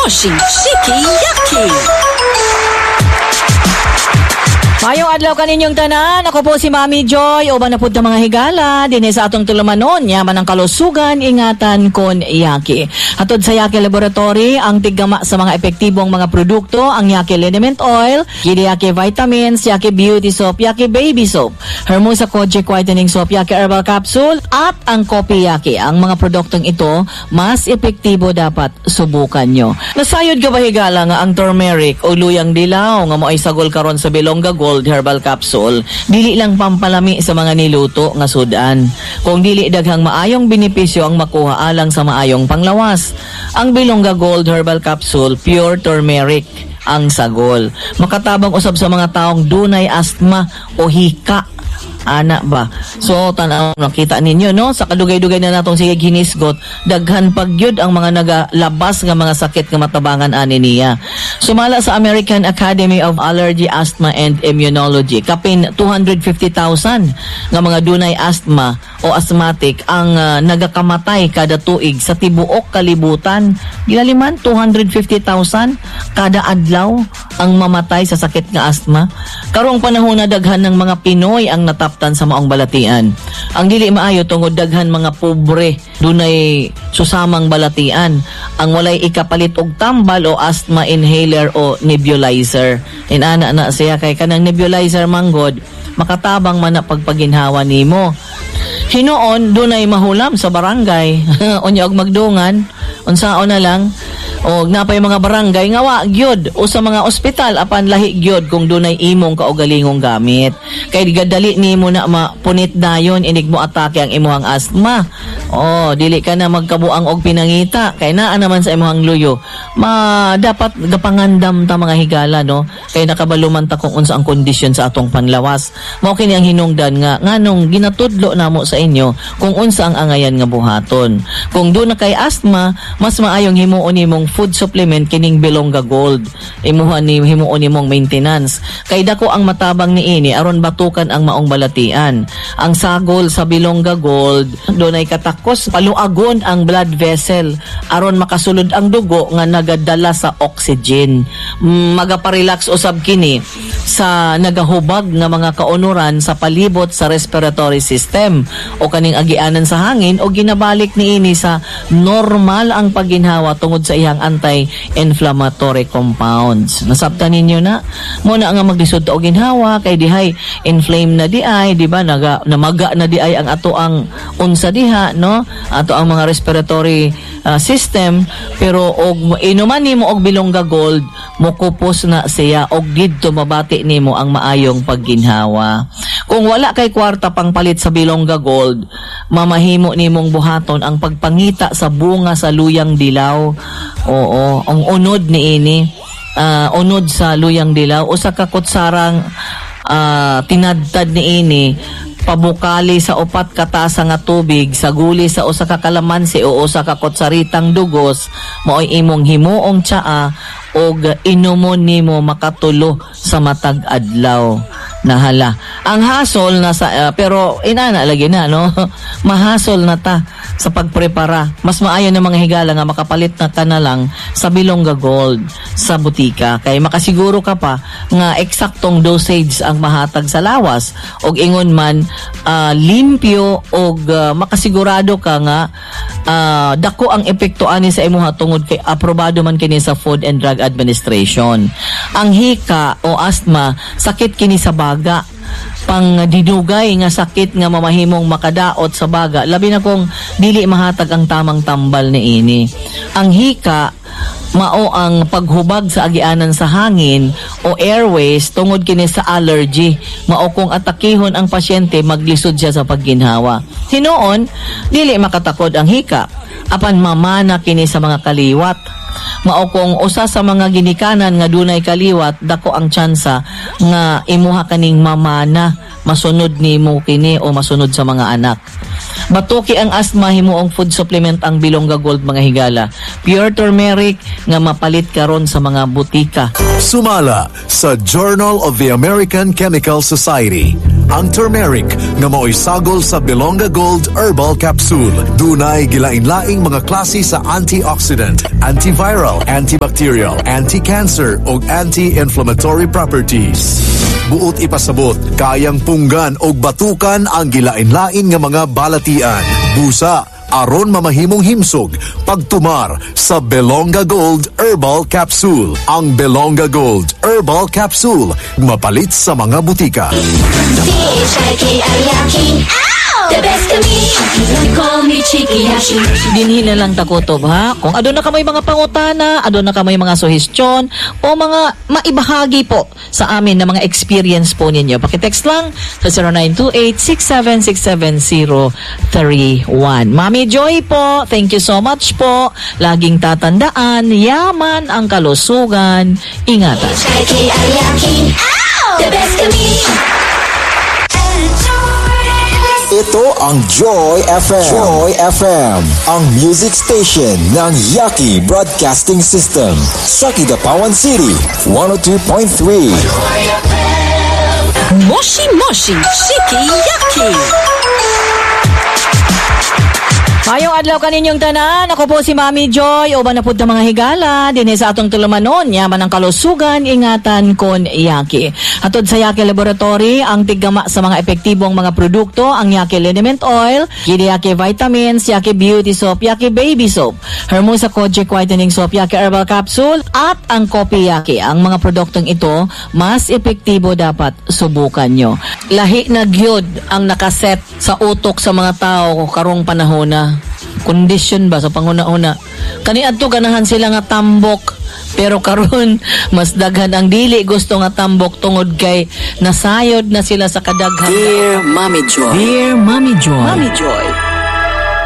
Mushy, Shiki, Yaki. Maayong adlaw kaninyong tanan. Ako po si Mami Joy. Uban na pud ta, mga higala dinhi sa atong tulumanon. Yaman ang kalusugan, ingatan kon Yaki. Hatod sa Yaki Laboratory, ang tiggama sa mga epektibong mga produkto, ang Yaki Liniment Oil, Yaki Vitamins, Yaki Beauty Soap, Yaki Baby Soap, Hermosa Kojic Whitening Soap, Yaki Herbal Capsule, at ang Kopi Yaki. Ang mga produktong ito, mas epektibo, dapat subukan nyo. Nasayod ka ba, higala, nga ang turmeric o luyang dilaw nga moay sagol karon sa Bilongga Gold Herbal Capsule, dili lang pampalami sa mga niluto nga sudan, kung dili daghang maayong benepisyo ang makuha alang sa maayong panglawas? Ang Bilongga Gold Herbal Capsule, pure turmeric ang sagol. Makatabang usab sa mga taong dunay asthma o hika. Ana ba? So, tanaw, nakita ninyo, no? Sa kadugay-dugay na natong sige ginisgot, daghan pagyud ang mga nagalabas nga mga sakit nga matabangan ani niya. Sumala sa American Academy of Allergy, Asthma and Immunology, kapin 250,000 nga mga dunay asthma o asthmatic ang nagakamatay kada tuig sa tibuok kalibutan. Gilaliman, 250,000 kada adlaw ang mamatay sa sakit nga asthma. Karong panahon na, daghan ng mga Pinoy ang nataptan sa maong balatian. Ang dili maayo tungod daghan mga pobre dunay susamang balatian ang walay ikapalit og tambal o asthma inhaler o nebulizer. Inana na siya kay kanang nebulizer manggod makatabang man na pagpaginhawa nimo. Hinuon dunay mahulam sa barangay. Unya og magdungan, unsaon na lang og napay mga barangay nga wa gyud o sa mga ospital, apan lahi gyud kung dunay imong kaugalingong gamit. Kay gadali nimo na mapunit dayon inig mo atake ang imong asthma. Oh, dili ka na magkabuang og pinangita kay naa naman sa imong luyo. Ma dapat gapangandam ta, mga higala, no, kay nakabaluman ta kung unsa ang kondisyon sa atong panlawas. Mao kini ang hinungdan nga nganong ginatudlo namo sa inyo kung unsa ang angayan nga buhaton. Kung duna kay asthma, mas maayong himuon nimong food supplement kining Bilongga Gold. Imuha ni himuon nimong maintenance. Kay dako ang matabang niini aron batukan ang maong balatian. Ang sagol sa Bilongga Gold, dunay katakos paluagon ang blood vessel aron makasulod ang dugo nga nagadala sa oxygen. Magaparelax usab kini sa nagahubag nga mga kaunuran sa palibot sa respiratory system o kaning agianan sa hangin, o ginabalik niini sa normal ang pagginhawa tungod sa iyang anti-inflammatory compounds. Nasabtan ninyo na? Mo na nga maglisod ta og ginhawa kay dihay inflame na di ay, di ba? Naga namaga na di ay ang ato ang unsa diha, no? Ato ang mga respiratory system, pero og inuman nimo og Bilongga Gold, mokupos na siya og didto mabati nimo ang maayong pagginhawa. Kung wala kay kwarta pang palit sa Bilongga Gold, mamahimo nimong buhaton ang pagpangita sa bunga sa luyang dilaw. Oo, ang unod niini, unod sa luyang dilaw, usa ka kutsarang tinadtad niini, pabukali sa 4 ka tasa nga tubig, saguli sa usa ka kalamansi o usa ka kutsaritang dugos, maoy imong himuong tsaa og inumon nimo makatulo sa matag adlaw. Nahala. Ang hasol na sa pero inana lagi na, no, mahasol na ta sa pagprepara. Mas maayo na, mga higala, nga makapalit na ka na lang sa Bilongga Gold sa butika kay makasiguro ka pa nga eksaktong dosage ang mahatag sa lawas og ingon man limpyo og makasigurado ka nga dako ang epekto ani sa imuha tungod kay aprobado man kini sa Food and Drug Administration. Ang hika o asthma, sakit kini sa baga, pang dinugay nga sakit nga mamahimong makadaot sa baga, labi na kung dili mahatag ang tamang tambal niini. Ang hika mao ang paghubag sa agianan sa hangin o airways tungod kini sa allergy. Mao kung atakihon ang pasyente, maglisod siya sa pagginhawa. Hinuon dili makatakod ang hika, apan mamana kini sa mga kaliwat. Mao kung usa sa mga ginikanan nga dunay kaliwat, dako ang tsansa nga imuha kaning mamana, masunod nimo kini o masunod sa mga anak. Batuki ang asthma, himuong food supplement ang Bilongga Gold, mga higala. Pure turmeric nga mapalit karon sa mga butika. Sumala sa Journal of the American Chemical Society. Ang turmeric nga maoy sagol sa Belonga Gold Herbal Capsule. Dunay gilain-laing mga klase sa antioxidant, antiviral, antibacterial, anti-cancer ug anti-inflammatory properties. Buot ipasabot, kayang punggan og batukan ang gilain-lain nga mga balatian. Busa, aron mamahimong himsog, pagtumar sa Belonga Gold Herbal Capsule. Ang Belonga Gold Herbal Capsule, mapalit sa mga butika. C-H-I-K-I-Y-A-K-I. The best kami. Call me Chikiyashi. Dinhi na lang ta kutob, ha. Kung aduna kamoy mga pangutana, aduna kamoy mga suhestyon o mga maibahagi po sa amin na mga experience po ninyo. Pakitext lang sa 0928-6767031. Mami Joy po, thank you so much po. Laging tatandaan, yaman ang kalusugan. Ingatan. H-I-K-I-Y-A-K-I. The best kami. Ito ang Joy FM. Joy FM, ang music station ng Yaki Broadcasting System. Sa Kidapawan City, 102.3. Moshi Moshi Shiki Yaki. Mayong adlaw kaninyong tanan. Ako po si Mami Joy. Uban na pud ta, mga higala dinhi sa atong tulumanon, yaman ang kalusugan, ingatan kon Yaki. Hatod sa Yaki Laboratory, ang tiggama sa mga epektibong mga produkto, ang Yaki Liniment Oil, Yaki Vitamins, Yaki Beauty Soap, Yaki Baby Soap, Hermosa Kojic Whitening Soap, Yaki Herbal Capsule, at ang Kopi Yaki. Ang mga produktong ito, mas epektibo, dapat subukan nyo. Lahi na gyud ang nakaset sa utok sa mga tao karong panahon na kondisyon ba sa panguna-una. Kaniadto ganahan sila nga tambok, pero karon mas daghan ang dili gusto nga tambok tungod kay nasayod na sila sa kadaghan. Dear Mommy Joy. Dear Mommy Joy. Mommy Joy.